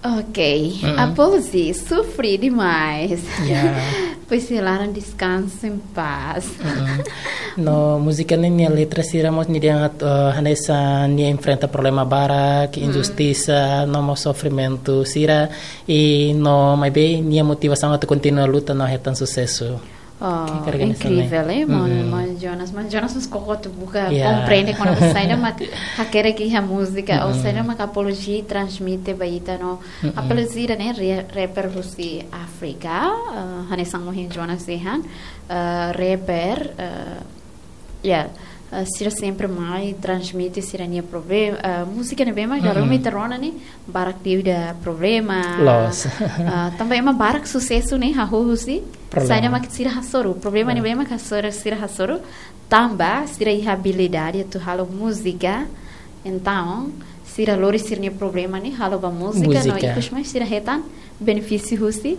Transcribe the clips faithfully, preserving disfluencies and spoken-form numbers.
Ok, mm-mm. Apology, sofri demais. Yeah. Pois se laran descanso em paz. Mm-mm. No múzika ne'e nia letra sira mós nia dehan atu, eh, hanesan nia enfrenta problema barak, mm, injustisa, no mós sofrimentu sira, i no maibé nia motivasaun atu kontinua luta no hetan susesu. Oh, incrível, eh? Mon, mm-mm. Mon Jonas, Mon Jonas mós koko atu buka, yeah, komprende kona-ba saida mak hakerek iha múzika, ou, mm-mm, saida mak Apology transmite ba ita no. Mm-mm. Apology ida-ne'e re-, rapper husi Áfrika, eh, hanesan ohin Jonas dehan, eh, rapper, eh, ya, eh, sira sempre mai transmite sira-nia problema, eh, múzika ne'ebé mak, mm-mm, garomi terona ni barak liu ida problema. Loos. Eh, tanba ema barak susesu ne'e hahú husi problema. Saida mak sira hasoru, problema, ya, ne'ebé mak hasoru, sira hasoru, tanba sira iha abilidade atu halo múzika. Entaun, sira lori sira-nia problema ne'e halo ba múzika, no, múzika, ikus mai sira hetan benefísiu husi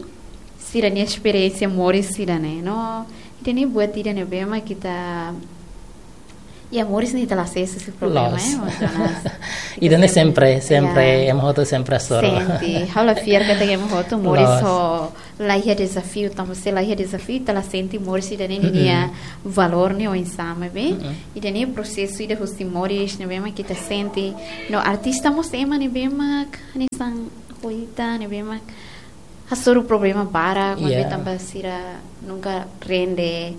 sira-nia esperiénsia moris sira-ne'e. No, ida-ne'e buat ida ne'ebé mak ita, ya, moris ne'e ita la sees husi problema, loos, eh, Mon Jonas. Ita ida-ne'e sempre, sempre, sempre, ya, ema hotu sempre hasoru. Sente, ha'u la fiar katak ema hotu moris, loos, ho la iha dezafiu, tanba se la iha dezafiu, ita la sente moris ida-ne'e, mm-mm, nia valór ne'e oinsá, maibé, mm-mm, ida-ne'e prosesu ida husi moris ne'ebé mak ita sente. No artista mós ema ne'ebé mak hanesan poeta ne'ebé mak hasoru problema barak, maibé, yeah, tanba sira nunka rende,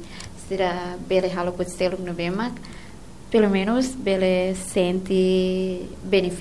sira bele halo buat seluk ne'ebé mak pelumenus bele sente benefísiu